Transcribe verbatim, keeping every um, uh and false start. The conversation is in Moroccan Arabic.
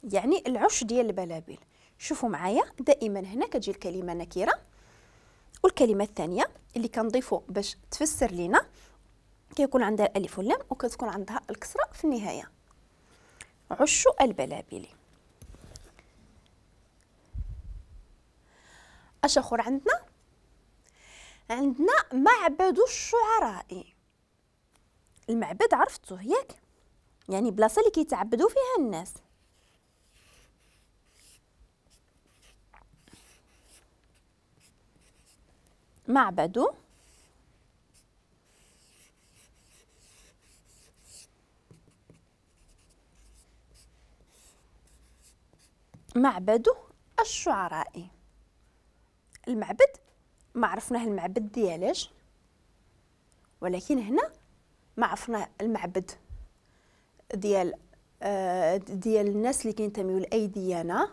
يعني العش ديال البلابل. شوفوا معايا دائما هنا كتجي الكلمة نكرة، والكلمة الثانية اللي كنضيفو باش تفسر لينا كيكون عندها الألف واللام وكتكون عندها الكسرة في النهاية. عش البلابل. اش اخر عندنا؟ عندنا معبد الشعراء. المعبد عرفتوه ياك، يعني بلاصة اللي كيتعبدوا فيها الناس. معبد معبد الشعراء. المعبد ما عرفناه المعبد ديالاش، ولكن هنا ما عرفناه المعبد ديال آه ديال الناس اللي كينتميو لاي ديانة،